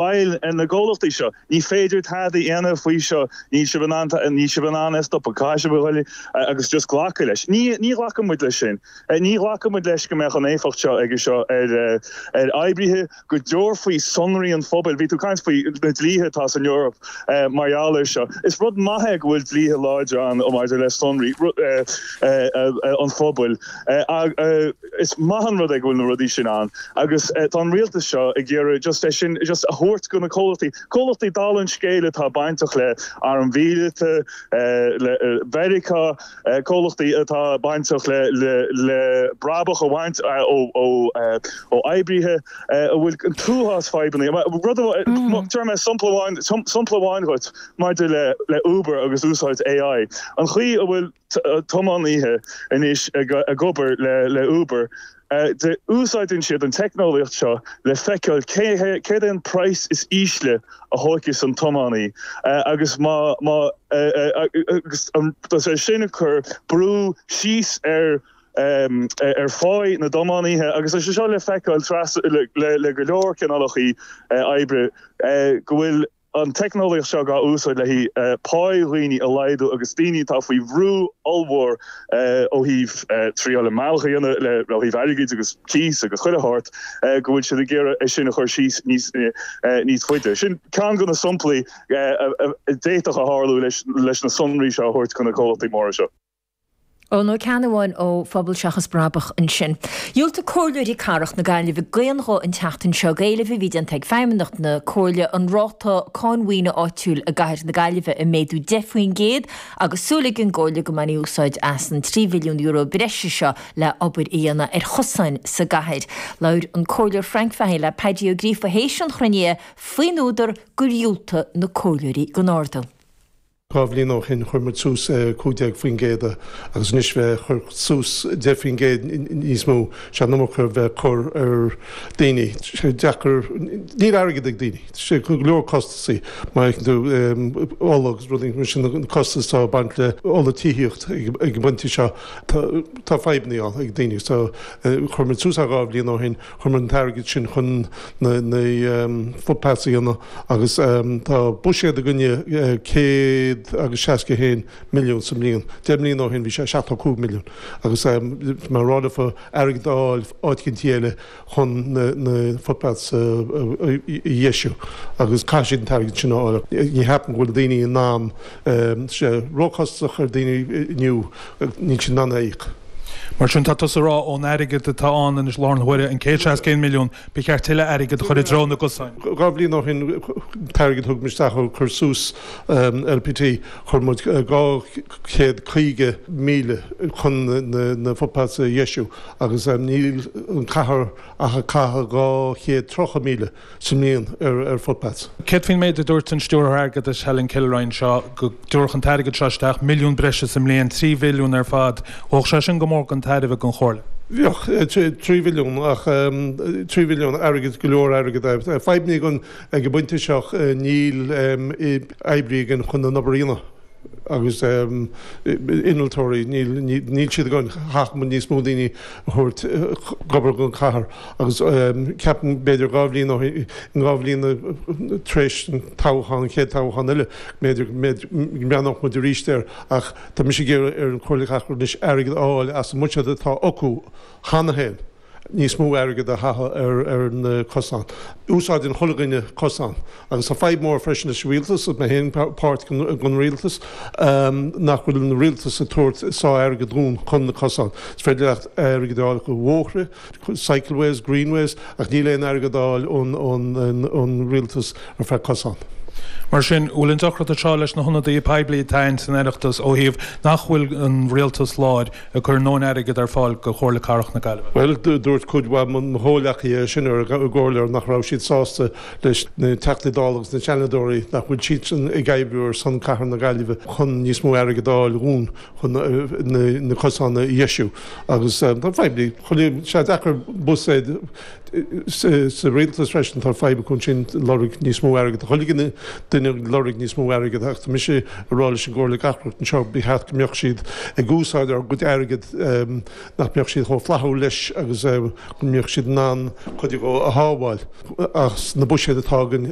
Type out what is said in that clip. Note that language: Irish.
Baill na gcomhlachtaí seo, ní féidir tada a dhéanamh faoi seo, níl sibh in ann, níl sibh in ann é a stopadh, caithfidh sibh a ghoil agus just glacadh leis. Ní, ní ghlacann muid leis sin. Ní ghlacann muid leis go mbeadh an éifeacht seo aige seo ar, ar oibrithe, go dtabharfaí sonraí an phobail, bhí tú ag caint faoi na dlíthe atá san Eoraip mar gheall air seo. Is rud maith é go bhfuil dlíthe láidre ann maidir le sonraí an phobail. Is maith an rud é go bhfuil na rudaí sin ann agus tá an rialtas seo ag iarraidh just é sin just a thabhairt go na comhlachtaí, comhlachtaí dála an scéil atá bainteach le airm mhíleata, le Mheiriceá, comhlachtaí atá bainteach le le brabach a bhaint ó ó oibrithe a bhfuil an t-uafás fadhbanna. Rud amháin, tabharfaidh mé sampla amháin, sampla amháin dhuit maidir le le Uber agus úsáid AI. An chaoi a bhfuil. tiománaithe anois ag obair le Uber. Úsáideann siad an teicneolaíocht seo le feiceáil céard é an praghas is ísle a thóigfeas an tiománaí agus má agus tá sé sin ag cur brú síos ar ar pháí na dtiománaithe agus tá sé seo le feiceáil le go leor cineálacha oibre go bhfuil an teicneolaíocht seo dhá úsáid le haghaidh páí dhaoine a laghdú agus daoine atá faoi bhrú ollmhór ó thaobh triáil a mbealach a dhéanamh le ó thaobh airgid agus cíos agus chuile shórt, go bhfuil siad ag iarraidh é sin a chur síos níos níos faide. Sin ceann de na samplaí a d'fhéadfadh a tharlú leis leis na sonraí seo a thabhairt do na comhlachtaí móra seo. Eoin Ó Ceannabháin ó Phobal Seachas Brabach ansin. Dhiúltaigh Comhairleoirí Cathrach na Gaillimhe d'aon ghuth an tseachtain seo d'éileamh a bhí déanta ag Feidhmeannacht na Comhairle an ráta cáin mhaoine áitiúil i gcathair na Gaillimhe a mhéadú 10% agus súil ag an gComhairle go mbainfí úsáid as an €3 mhilliún breise seo le obair a dhéanamh ar chosáin sa gcathair. Labhair an Comhairleoir Frank Fahey le Paddy Ó Gríofa théis an chruinnithe faoin údar gur dhiúltaigh na Comhairleoirí don ardú. 2 bhliain ó shin chuir muid suas 15% agus anois bheith ag cur suas 10% níos mó, sé an iomarca bheith ag cur ar daoine. Tá sé deacair, níl airgead ag daoine. Tá sé go leor costasaí má fheiceann tú ola agus rudaí mar sin, na costais atá ag baint le ola tithíocht ag an bpointe seo. Tá fadhbanna ann ag daoine. So chuir muid suas é 2 bhliain ó shin. Chuir muid an t-airgead sin chun na footpaths a dhéanamh agus tá buiséad againne 161 milliún sa mbliain. 10 mbliana ó shin bhí sé 75 milliún agus mar rá leofa airgead a fháil áit eicínt eile chun na footpaths a dheisiú agus caithfidh siad an t-airgead sin a fháil. Ní cheapaim go bhfuil daoine in ann, tá sé róchostasach ar daoine inniu, níl siad in ann é a íoc. Mar sin, tá tusa ag rá ón airgead atá ann anois i láthair na huaire, an 161 milliún, ba cheart tuilleadh airgid a chur i dtreo na gcosán. 2 bhliain ó shin, an t-airgead a thug muid isteach ó cur suas LPT, chuir muid 250,000 chun na footpaths a dheisiú agus níl an cathair ach ag caitheamh 230,000. sa mbliain ar footpaths. Céard faoin méid a dúirt an Stiúrthóir Airgeadais Helen Kilroy anseo, go dtabharfadh an t-airgead seo isteach milliún breise sa mbliain, 3 mhilliún ar fad. Bheadh sé sin go mór den tairbhe don Chomhairle. Bheadh, 3 mhilliún, ach 3 mhilliún, airgead, go leor airgead é. Fadhbanna againn ag an bpointe seo, níl oibrí againn chun an obair a dhéanamh. agus innealtóirí, níl siad againn, chaithfeadh muid níos mó daoine a thabhairt ag obair don chathair agus ceapaim b'fhéidir 2 bhliain ó shin, 2 bhliain tar éis an toghchán, an chéad toghchán eile, b'fhéidir go mbreathnódh muid arís air ach tá mise ag iarraidh ar an Chomhairle Cathrach anois airgead a fháil as an mbuiséad atá acu cheana féin. níos mó airgead a chaitheamh ar na cosáin. Úsáideann chuile dhuine cosán agus tá fadhb mór freisin leis an rialtas, agus mé féin páirt den rialtas, nach bhfuil an rialtas ag tabhairt sáith airgead dúinn chun na cosáin. Is féidir leat airgead a fháil chuig bhóithre, cycleways, greenways, ach níl aon airgead á fháil ón rialtas ar feadh cosán. Mar sin, bhfuil an deacracht seo leis na hionadaithe poiblí atá againn san Oireachtas ó thaobh nach bhfuil an rialtas láir ag cur a ndóthain airgid ar fáil do Chomhairle Cathrach na Gaillimhe. Bhuel, dúirt cuid mhaith mo chomhleacaithe sin ar an gcomhairle nach raibh siad sásta leis na Teachtaí Dála agus na Seanadóirí, nach bhfuil siadsan ag oibriú ar son Cathair na Gaillimhe chun níos mó airgid a fháil dhúinn chun na cosáin a dheisiú. Agus tá fadhb, tá sé deacair buiséad sa rialtas freisin, tá fadhb acu ansin lorg níos mó airgid. Chuile dhuine. duine ag lorg níos mó airgid ach tá mise ag rá leis an gComhairle Cathrach anseo ba cheart go mbeadh siad ag úsáid ár gcuid airgid, nach mbeadh siad chomh flaithiúil leis agus go mbeadh siad in ann cuid dhó a shábháil as na buiséid atá againn.